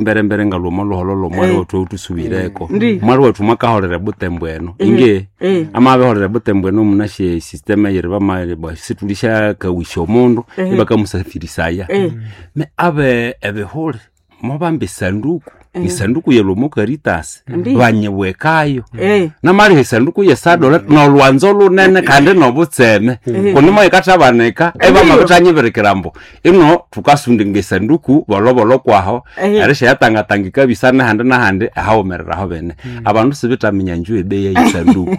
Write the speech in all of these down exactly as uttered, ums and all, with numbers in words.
Mbere mbere ngalwa luholo lomwali Eh. wethu utusubireko Ndi. mwali wethu mwakaholera butembo eno Eh. inge Eh. amabeholera butembo eno munashe system eyiri bama situlisha kawisha omundu Eh. ibakamusafirisaya Eh. me abe ebihuli mobamba esanduku isanduku yelomo Caritas Ndi. banyibwekayo Eh. namaliha esanduku yesadola nolwanzo lunene kandi nobutseme kunimo ikathabanika ebamabithanyibirikira mbu ino thukasundinga esanduku bolobolo kwaho Eh. erishayatangatanga ikabisa nahandi nahandi ahawumereraho bene abandu sibithaminya nju ebeyi yeyisanduku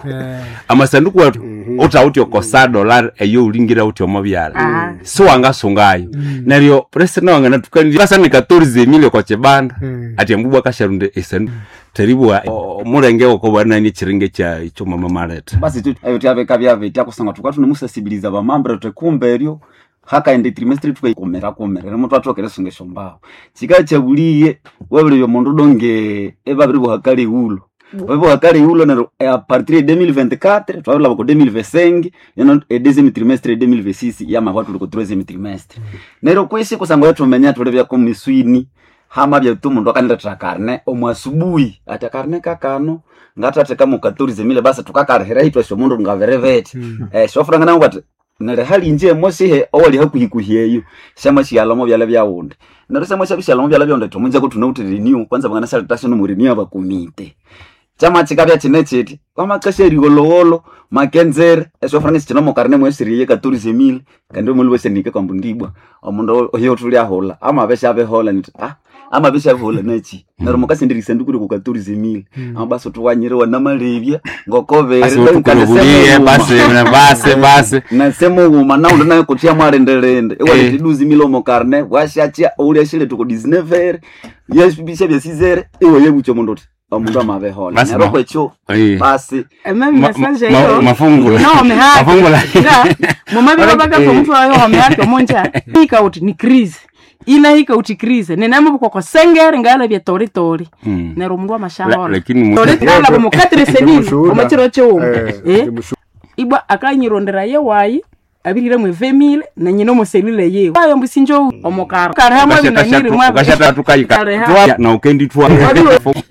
amasanduku wethu uthawuthi okosadola eyo ulingira uthi omobyala Ah. siwangasungayo neryo presida wanganathukanirya kasanika tourism oko kibanda Mm. ati embubwa akasharunda esanduku teribwa omulenge wokobwanani ekiringa ekya ekyomama maletha basi tu ebyo tyabeka byabetya kusanga tuka tunemusasibiliza bamambira tuthi eryo hakaenda trimestre tukakumira kumira nimo twathoka erisunga esyombaho kika kyabuliye wabiribya omundu donge ebabiri buhakala ewulo babibuhakala ewulo neryo a partir ya deux mille vingt-quatre twabilaba ku deux mille vingt-cinq ino e deuxième trimestre deux mille vingt-six yamahwa tuli ku troisième trimestre neryo kwisi kusanga yathuminya thuli byako miswini hama byatu omundu akanilethera karne omu asubuhi ati akarne kakano ngathatheka mu quatorze mille basi tukakalihira itwasi omundu ngabiribiti eh syofuranga nangu ati neryo halinje emosihe owali hakuhikuhi eyo syamashyalamo byala byawundi neryo syamashyabishyalamo byala byawundi thumunje kuthunawuthi renew kwanza banganasyaletha nomu renew abakomite kyama kikabya kine kiti kwamakasya erigholowolo makenzere esyofuranga sikina mukarne mwesiriye quatorze mille kandi omuli wesenike kwambu ndibwa omundu oyo thulyahulha amabesha abehola niti ah amabesha abehola nachi neryo mukasendera isanduku riko quatorze mille amabasi thuwanyire wanamalebya Basi utukurubulie, basi basi basi nasemughuma naundi nayo kutya mwalindelinde Eh. iwaleta iduzi mille omo karne bwashyakya ulyashile tuko dix-neuf yesibisha byasizere iwe yebucha omundu uthi omundu amabehola Basi neryo ma- kwekyo Eh. basi Ememe Ma- message ma- eyo. mafungula. No, mehaki. Mafungula. Nga, mumabiro baka Eh. omuntu wayo wamehaki omonja. Hika uti ni crise. Ina hika uti crise. Nenamo bukoko sengere ngala bya tori tori. Mm. Nero mundu La- amashahola. lakini mu- Tori ngala bo mukatire senini. Ndimushuhuda. Omachiro chiwo. Eh, Eh. ndimushu- Ibwa akanyirondera ye wayi abirire mwe vemile na nyina omuselule yewe ayo mbusinjo omukara kare hamwe binanyiri mwa ukashatathukaika na ukendithwa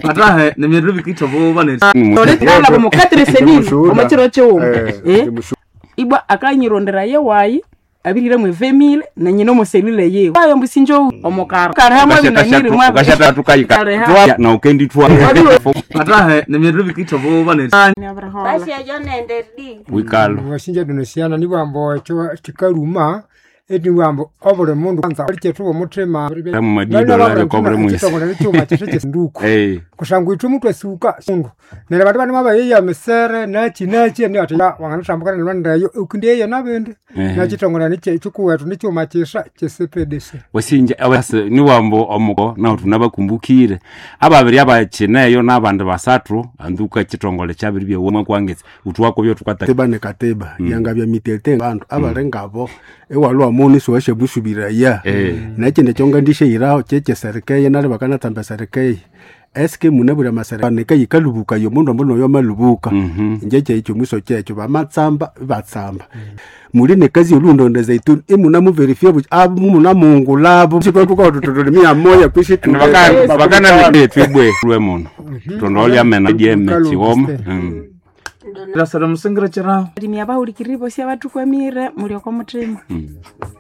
atahe nemyerero bikitha boba ne tori ngala bo mukatire senini Ndimushuhuda. omachiro chiwo Eh, eh ndimushu- ibwa akanyirondera ye wayi abirire mwe vemile na nyina omuselule yewe ayo mbusinjo omukara kare hamwe binanyiri mwa ukashatathukaika Kare hamwe na ukendithwa atahe nemyerero bikitha boba ne basi ejo nende di wikalo washinja dunosiana nibwambo ekyo kikaruma eniwambo obuli mundu kwanza kyethuba omuthima Mu madido lari kwa buli mwesi. ekitongole nikyuma kyethu kyesinduku Eh. kusangwa ithwe muthu asuka mundu neryo abandu banima bayeya misere nachi nachi eni ati wanganatambukana nilwandeyo ukindiyeya nabindi Ehe. nakitongole nikyikuwethu nikyuma kyisa kyesipedese wasinja awase niwambo omuko nawu tunabakumbukire ababiri abakineyo n'abandi basathu anduka chitongole kyabiri byewoma kwangetse uthuwako tukata katiba ne katiba yanga bya mitete bandu abali ngabo ewalwa muni siwashe busubiraya Eh. nekindi kyongandisheiraho kyekyeserikeye nali bakanatsamba serikeye eske mune buli amasereka yikalubuka yomundu ombu noyo malubuka inje kyekyo mwiso kyekyo bamatsamba batsamba muli nekazi yolundonda zaituni imuna muverifya buti abo muna mungulabo sitwatukaututulimiya moya kwishi bakana twibwe lwe muno tondolya mena dyeme Lukalu chiwoma Augustin. Mm. rasara musengera chiraho limya bahulikirire bosi abathukwamire mulioko muthima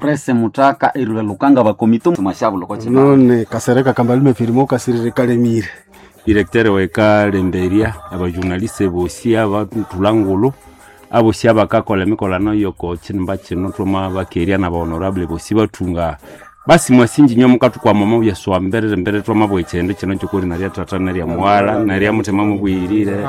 prese mutaka erula lukanga bakomito mashabulo koche none kasereka kambalume firimo kasirire kalemire directeur wekalemberia abajournaliste bosi abathulangulu abosi abakakola emikolano yoko chinimba chino twama bakeria na bahonorable bosi bathunga basi mwasinji nyo mukathukwama mabya swamberere mbere twamabwa ekyende kino kyokori narya tata narya muwala narya muthema mubwirire